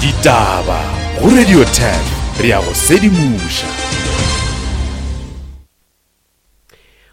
Ditaba go Radio 10 re ya go sedimoša.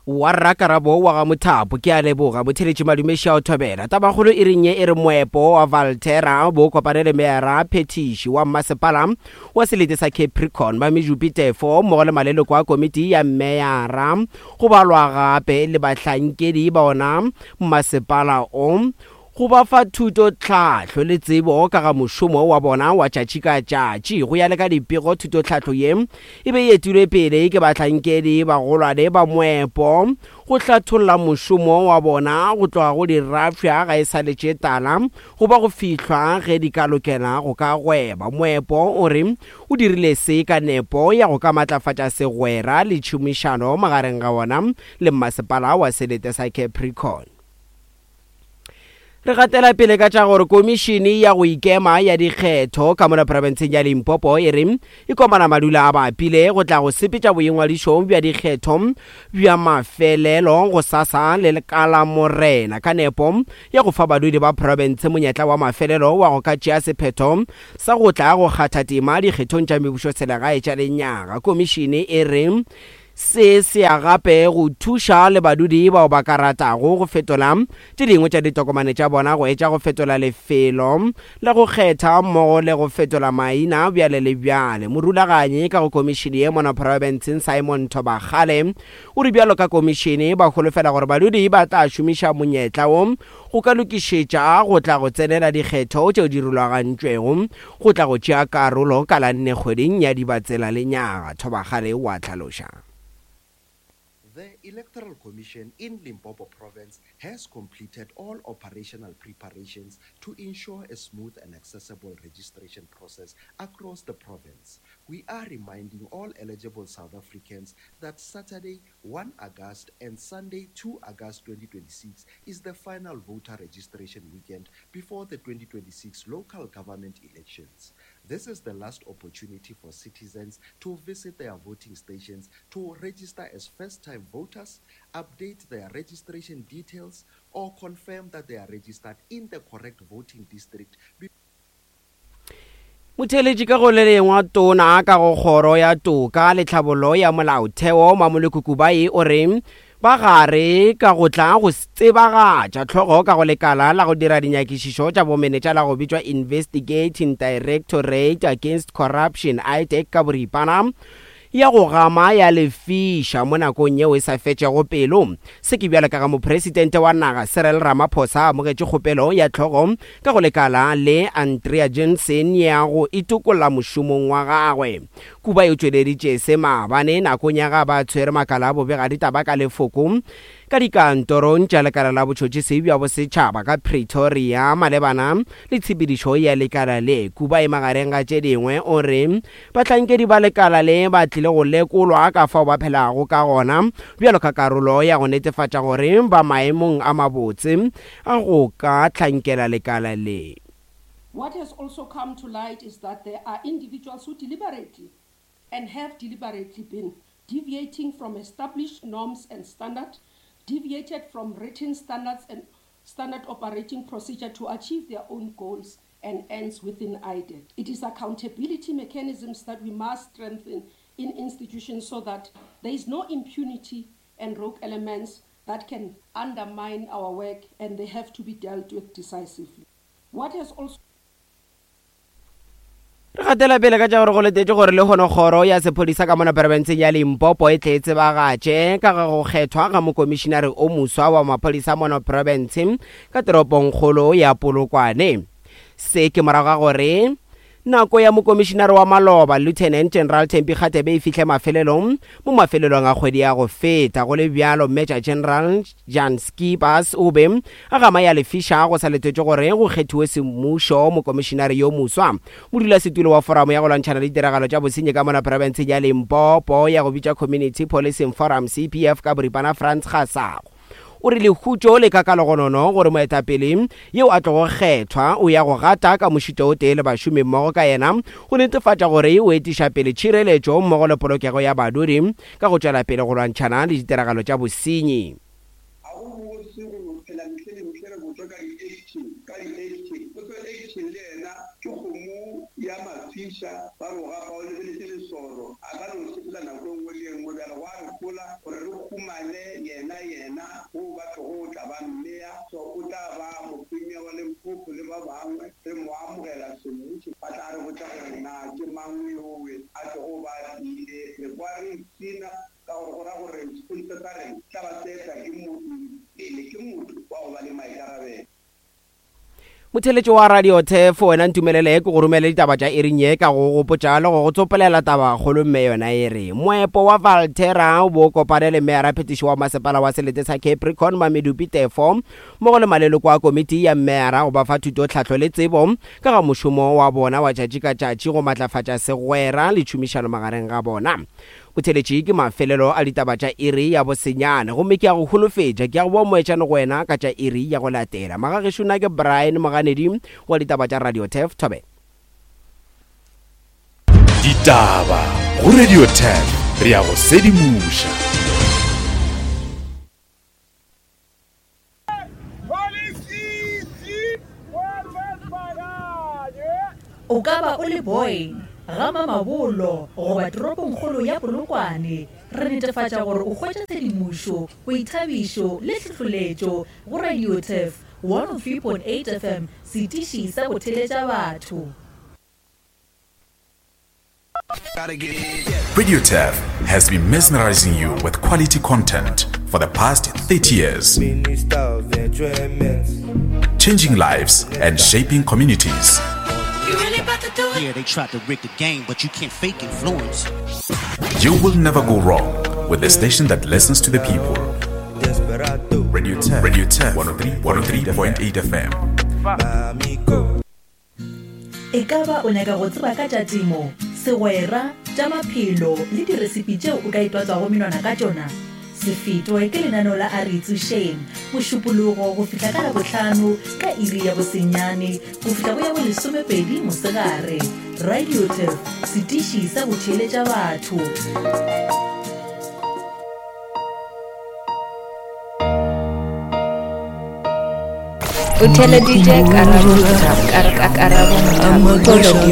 Wa rra Karabo wa ga Mothapo, ke a leboga. Motheletši Madume Šia o thobela. Tabakgolo e reng ye e re moepo wa Valterra bo kopane le meyara phethiši wa mmasepala wa selete sa Capricorn Mamejupi Tefo mmogo le maleloko a komiti ya meyara go balwa gape le bahlankedi ba ona mmasepala o go ba fa thuto, tlhahlo le tsebo ka ga mošomo wa bona wa tšatši ka tšatši. Go ya le ka dipego, thutotlhahlo ye e be e etilwe pele ke bahlankedi bagolwane ba moepo go hlatholla mošomo wa bona go tloga go dirafša ga e sa le tše tala go ba go fihlwa ge di ka lokela go ka gweba. Moepo o re o dirile se ka nepo ya go ka matlafatša segwera le tšhomišano magareng ga wona le mmasepala wa selete sa Capricorn. Re gatela pele ka tša gore komišene ya go ikema ya dikgetho ka mola profenseng ya Limpopo e re e komana madula a bapile go tla go sepetša boingwadišo bja dikgetho bja mafelelo go sasa le ka la Morena ka nepo ya go fa badudi ba profense monyetla wa mafelelo wa go ka tšea sephetho sa go tla go kgatha tema dikgethong tša mebušoselegae tša lenyaga. Komišene e re Se se ya gape go thuša le badudi bao ba ka ratago go fetola tše dingwe tša ditokomane tša bona go etša go fetola lefelo la go kgetha mmogo le go fetola maina bjale le bjale. Morulaganyi ka go komišene ye mono profenseng Simon Thobakgale o re bjalo ka komišene ba holofela gore badudi ba tla šomiša monyetla wo go ka lokišetša go tla go tsenela dikgetho tšeo di rulagantšwego go tla go tšea karolo ka la nne kgweding ya Dibatsela lenyaga, Thobakgale o a hlaloša. The Electoral Commission in Limpopo Province has completed all operational preparations to ensure a smooth and accessible registration process across the province. We are reminding all eligible South Africans that Saturday, 1 August and Sunday, 2 August 2026 is the final voter registration weekend before the 2026 local government elections. This is the last opportunity for citizens to visit their voting stations to register as first-time voters, update their registration details, or confirm that they are registered in the correct voting district Motheeletši ka go le lengwa tona ka go kgoro ya toka le tlhabollo ya molaotheo Mamoloko Kubayi o re ba gare ka go tla go tsebagatša tlhogo ka go lekala la go dira dinyakišišo tša bomenetša la go bitšwa Investigating Directorate Against Corruption, IDAC ka boripana, ya go gama ya lefiša mo nakong yeo e sa fetšego pelo. Se ke bjalo ka ga Mopresidente wa naga Cyril Ramaphosa a amogetše kgopelo ya hlogo ka go lekala le Andrea Jensen ya go itokolla mošomong wa gagwe. Kuba e tšweleditše se maabane nakong ya ga ba tshwere makala a bobegaditaba ka lefoko ka dikantorong tša lekala la botšhotšhisi bja bosetšhaba ka Pretoria malebana le tshepedišo ya lekala le. Kuba e magareng ga tše dingwe o re Bahlankedi ba lekala le ba tlile go lekolwa ka fao ba phelago ka gona bjalo ka karolo ya go netefatša gore ba maemong a mabotse a go ka hlankela lekala le. What has also come to light is that there are individuals who deliberately and have deliberately been deviating from established norms and standard, deviated from written standards and standard operating procedure to achieve their own goals and ends within IDEC. It is accountability mechanisms that we must strengthen in institutions so that there is no impunity and rogue elements that can undermine our work and they have to be dealt with decisively. What has also Re gatela pele ka tša gore go letetše gore lehono kgoro ya sephodisa ka mona profenseng ya Limpopo e tle e tsebagatše ka ga go kgethwa ga mokomišinare o moswa wa maphodisa mono profense ka toropongkgolo ya Polokwane. Se ke morago ga gore nako ya mokomišinare wa maloba Lieutenant General Thembi Kgatebe e fihle mafelelong mo mafelelong a kgwedi ya go feta. Go le bjalo, Major General Jan Scheepers o be a gama ya lefiša go sa letetšwe gore go kgethiwe semmušo mokomišinare yo moswa. Modulasetulo wa Foramo ya go lwantšhana le ditiragalo tša bosenyi ka mola profenseng ya Limpopo ya go bitšwa Community Policing Forum, CPF, ka boripana Frans Gasago o re lehutšo le ka kalogonono gore moetapele yeo a tlogo kgethwa o ya go gata ka mošito o tee le bašomi mmogo ka yena go netefatša gore o etiša pele tšhireletšo mmogo le polokego ya badudi ka go tšwela pele go lwantšhana le ditiragalo tša bosenyi. Ga go bose go no phela mehle le mehle re botšwa ka di-action, ka di-action. Potso action le yena ke kgomo. Di a mafiša, ba re o gafa o lebeletše lesoro, a ka no sepela nako e nngwe le e nngwe. Bjale gwa re hola gore re humane yena, yena wo ba tlogo tla ba mmea, so o tla ba mopremier wa Limpopo le ba bangwe, re mo amogela semmušo, ba tla re botša gore na ke mang yowe a tlogo ba a tlile. Re kwa re ipshina ka gore go ra gore sepodisa sa rena tla ba se etwa ke pele ke motho wa go ba le maikarabelo. Motheeletši wa Radio Turf, wena ntumelele ke go romele ditaba tša iring ye ka go gopotša le go go tsopolela tabakgolo mme yona e re moepo wa Valterra o bo kopane le meyara phetiši wa masepala wa selete sa Capricorn Mamedupi Tefo mmogo le maleloko a komiti ya meyara go ba fa thuto tlhahlo le tsebo ka ga mošomo wa bona wa tšatši ka tšatši go matlafatša segwera le tšhomišano magareng ga bona. Botheletši ke mafelelo a ditaba tša iri ya bosenyane, gomme ke a go holofetša, ke a go boa moetšane go wena ka tša iri ya go latela. Magagešo nna ke Brian Moganedi wa ditaba tša Radio Turf Thobela. Ditaba go Radio Turf, re a go sedimoša. O ka ba o le Boyne, ga Mamabolo goba toropongkgolo ya Polokwane, re netefatša gore o hwetša tshedimošo, boithabišo le tlhohloletšo go Radio Turf 103.8 FM, setiši sa go theletša batho. Radio Turf has been mesmerizing you with quality content for the past 30 years. Changing lives and shaping communities. Yeah, they tried to rig the game, but you can't fake influence. You will never go wrong with the station that listens to the people. Radio 10, Radio 10, 103.8 FM. E ka ba o nyaka go tseba ka tša temo, segwera, tša maphelo le diresipi tšeo o ka itwatswago menwana ka tšona? Se fetwe ke lenaneo la A Re Itsošeng, Mošupologo go fihla ka Labohlano ka iri ya bosenyane go fihla go ya bolesomepedi mosegare. Radio Turf, setiši sa go theeletša batho. O theeleditše Karabo Karabo Mothapo.